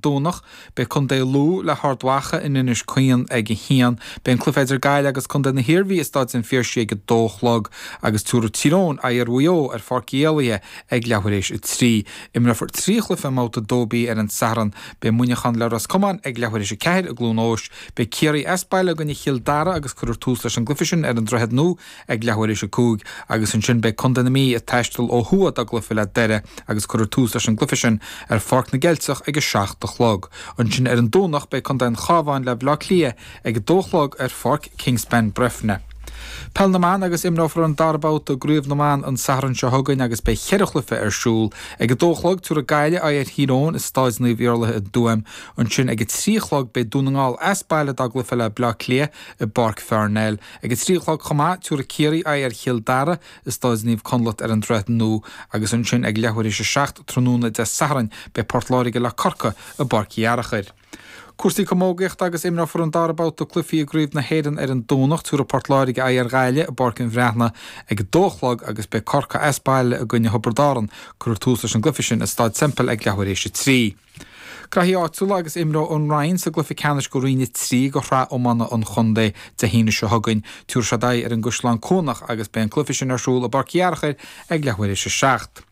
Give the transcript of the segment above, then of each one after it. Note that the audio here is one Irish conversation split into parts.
Domhnach, beidh Contae Lú le hArd Mhacha in Inis Caoin ag a haon. Beidh an cluiche idir Gaillimh agus Contae na hIarmhí i Stáid an Phiarsaigh ag a dó a chlog agus tabharfaidh Tír Eoghain aghaidh ar Mhaigh Eo ar Pháirc Uí Éalaithe ag leathuair éis a 3. Imreofar 3 chluiche i mBabhta 2B ar an Satharn. Beidh Muineachán le Ros Comáin ag leathuair éis a 4 i gCluain Eois. Beidh Ciarraí as baile i gcoinne Chill Dara agus cuirfear tús leis an gcluiche sin ar an Droichead Nua ag leathuair éis a 5 agus ansin beidh Contae na Mí ag taisteal ó thuaidh dá gcluiche le Doire agus cuirfear tús leis an gcluiche sin ar Pháirc na gCeilteach ag a 7 a chlog. Ansin ar an Domhnach beidh Contae an Chabháin le Baile Átha Cliath ag a 2 a chlog ar Pháirc Kingspan Breffni. Peil na mBan agus imreofar an dara babhta i gCraobh na mBan an Satharn seo chugainn agus beidh cheithre chluiche ar siúl. Ag a dó a chlog tabharfaidh Gaillimh aghaidh ar Thír Eoghain i Stáid Naomh Iarlaithe i dTuaim. Ansin ag a 3 a chlog beidh Dún na nGall as baile dá gcluiche le Baile Átha Cliath i bPáirc Pharnell. Ag a 3 a chlog chomh maith, tabharfaidh Ciarraí aghaidh ar Chill Dara i Stáid Naomh Conleth ar an Droichead Nua agus ansin ag leathuair théis a 7 tráthnóna Dé Sathairn beidh Port Láirge le Corcaigh i bPáirc Uí Fhearachair. Cúrsaí camógaíochta agus imreofar an dara babhta cluichí i gCraobh na hÉireann ar an Domhnach. Tabharfaidh Port Láirge aghaidh ar Ghaillimh i bPáirc an Bhreathnaigh ag a 2 a chlog agus beidh Corcaigh as baile i gcoinne Thiobraid Árann. Cuirfear tús leis an gcluiche sin i Staid Semple ag leathuair théis a 3. Graithí áitiúla agus imreoidh an Rinn sa gcluiche ceannais go Roinn 3 go Shraith Iomána an Chontae Dé hAoine seo chugainn. Tabharfaidh siad aghaidh ar an gCaisleán Cuanach agus beidh an cluiche sin ar siúl i bPáirc Uí Fhearachair ag leathuair théis a 7.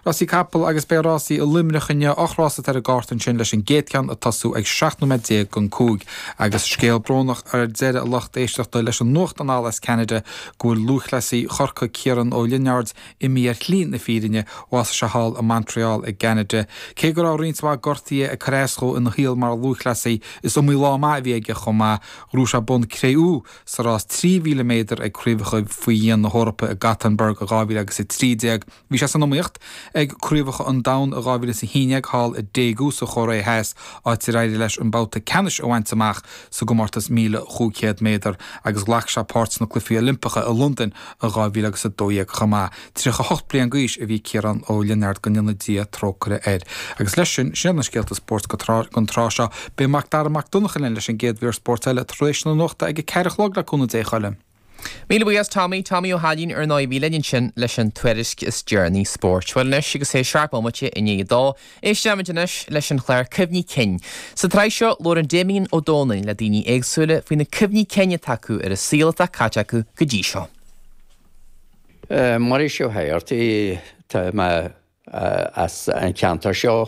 Rásaí capall agus beidh rásaí i Luimneach inniu, 8 rás atá ar an gcárta ansin leis an gcéad cheann ag tosú ag 17 nóiméad don 5. Agus scéal brónach ar deireadh a lucht éisteachta leis an nuacht anall as Ceanada go bhfuil lúthchleasaí Chorcaí Ciarán Ó Lionáird imithe ar shlí na fírinne, bhásaigh sé thall i Montreal i gCeanada. Cé go raibh roinnt mhaith gortuithe ag cur as dhó ina shaol mar lúthchleasaí, is iomaí lá maith a bhí aige chomh maith. Ghnóthaigh sé bonn cré-umha sa rás 3,000 méadar ag Craobhacha faoi Dhíon na hEorpa i Gothenburg i 2013. Bhí sé san iomaíocht ag Craobhacha an Domhain i 2011 thall i Daegu sa Chóiré Theas, áit ar éirigh leis an babhta ceannais a bhaint amach sa gcomórtas 1,500 méadar agus ghlac sé páirt sna Cluichí Oilimpeacha i Londain i 2012 chomh maith. 38 bliain d'aois a bhí Ciarán Ó Lionáird, go ndéana Dia trócaire air. Agus leis sin, sin iad na scéalta spóirt don tráth seo. Beidh Mac Dara Mac Donncha linn leis an gcéad mhír spóirt eile tar éis na nuachta ag a ceathair a chlog le cúnamh Dé a Choilm. Míle buíochas Tommy, Tommy Ó hAilín ar ndóigh a bhí linn ansin leis an tuairisc is deireanaí spóirt. Bhuel anois agus é seacht mbomaite i ndiaidh a dó, éistfimid anois leis an chlár Cuimhní Cinn. Sa tsraith seo labhrann Damien Ó Dónaill le daoine éagsúla faoi na cuimhní cinn atá acu ar an saol atá caite acu go dtí seo. Muiris Ó hÉigeartaigh, tá mé as an cheantar seo.